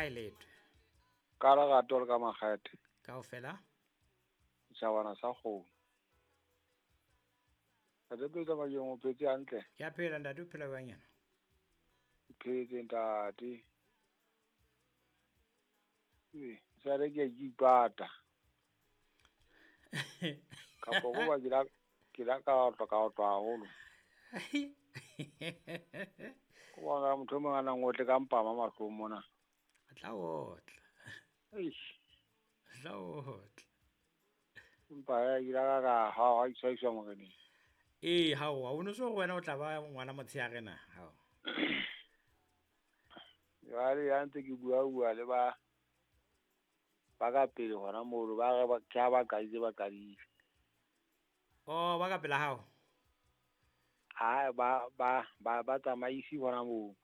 Hae letwe. Ka lerato le ka makgethe. Kaofela. Setjhabana sa kgomo. Ntate Petsa Majong o phetse hantle? Ke a phela ntate, o phela jwang yena? Ke phetse ntate. Ee, sale ke a ke ipata. Kapo go ba ke la ka otlwa ka otlwa haholo. Ko bona motho o mong a nang otle ka mpama mahlong mona. A tla otla. Eish. A tla otla. Empa ke la ka ha ha iswa moreneng. Ee, hao, ha o no se hore wena o tla ba ngwana motshehare na? Hao. Jwale ya ntse ke bua le ba ka pele hona mono, ba re ke ha ba qadile ba qadile. Oh, ba ka pela hao? Ha ba tsamaisi hona moo.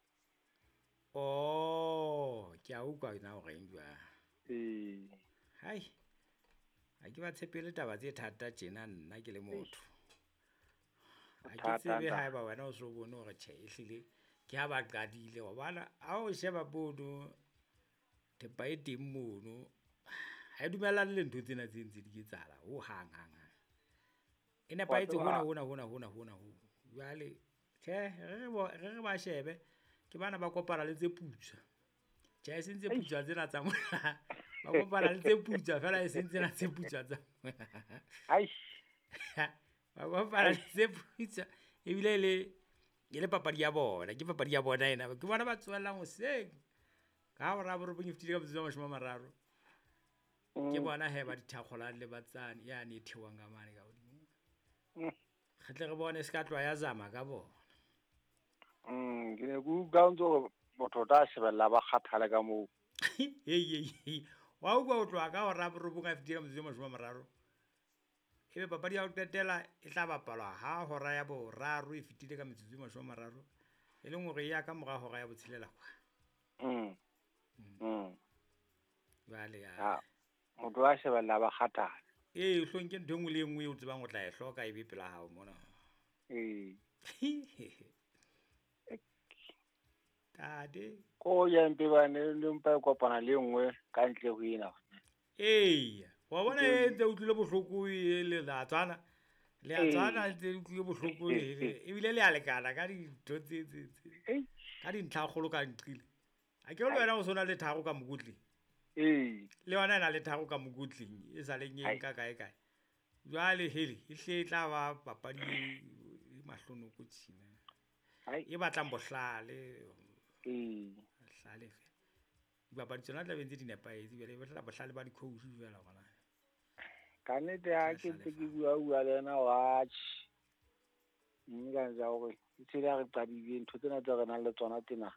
Oh, ke a utlwa na o reng jwang. Ee. Hai. Ha ke ba tshepele taba tse thata tjena nna ke le motho. Ha ke tsebe haeba wena o so bone hore tjhe ehlile ke ha ba qadile hobane ha o sheba mono thepa e teng mono ha e dumellane le ntho tsena tse ntse di etsahala ho hang hang hang. E nepahetse hona hona hona hona hona ho. Jwale tjhe re re ba shebe ke bana ba kopana le tse putswa. Tjhe e seng tse putswa tsena tsa mona. Ba kopana le tse putswa fela e seng tsena tse putswa tsa. Ai. Ba kopana le tse putswa ebile e le papadi ya bona, ke papadi ya bona ena. Ke bona ba tsohellang hoseng. Ka hora ya borobong e fetile ka metsotso e 30. Ke bona he ba dithakgolang le ba tsane yane e theohang ka mane ka hodimo. Re tle re bone se ka tloha ya zama ka bona. Ke ne ke utlwa o ntso hore motho o tla shebella ba kgathale ka moo. Hei. Wa utlwa o tloha ka hora ya borobong a fetile ka metsotso e 30. Ebe papadi ya ho qetela e tla bapalwa ha hora ya boraro e fetile ka metsotso e 30, e leng hore e ya ka mora hora ya botshelela kwa. Jwale ya. Motho wa shebella ba kgathale. Ee, hlong ke ntho e nngwe le e nngwe eo o tsebang o tla e hloka e be pela hao mona. Ee. Tate. Ko ya mpe ba ne le mpa e kopana le nngwe ka ntle ho ena. Ee, wa bona e ntse utlwile bohloko e le la tswana. Le a tswana ntse utlwile bohloko e ebile le a lekana ka dintho tse. Ka dintlha kgolo ka nqile. A ke le wena o sona le tharo ka mokotleng. Ee. Le yona e na le tharo ka mokotleng e sa leng e nka kae kae. Jwale hele e hle e tla ba papadi e mahlonoko tjena. E batlang bohlale. Ee. Bohlale fela. Dibapadi tsona tla be ntse di nepahetse jwale e batla bohlale ba di-coach jwale hona. Ka nnete ha ke ntse ke bua le yena watch. Mme ka ntse hore e tshela re qadile ntho tsena tse re nang le tsona tsena.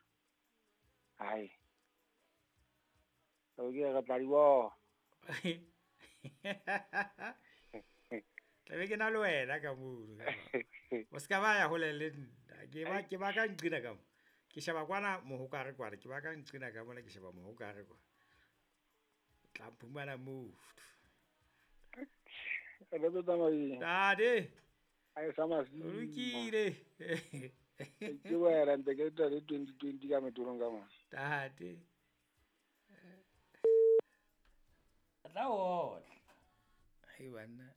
Hai. Okay, re tla di bona. Tla be ke na le wena ka mono. O ska ba ya hole le nna. Ke ba ka nqina ka mo. Ke sheba kwana mohokare kwana, ke ba ka nqina ka mona ke sheba mohokare kwa. Tla phumana moo. Re tlo tsamaya. Tate. Ai sa masi. O lokile. Ke wena ntse ke tla le 2020 ka metolong ka mona. Tate. Tla otla. Hei banna.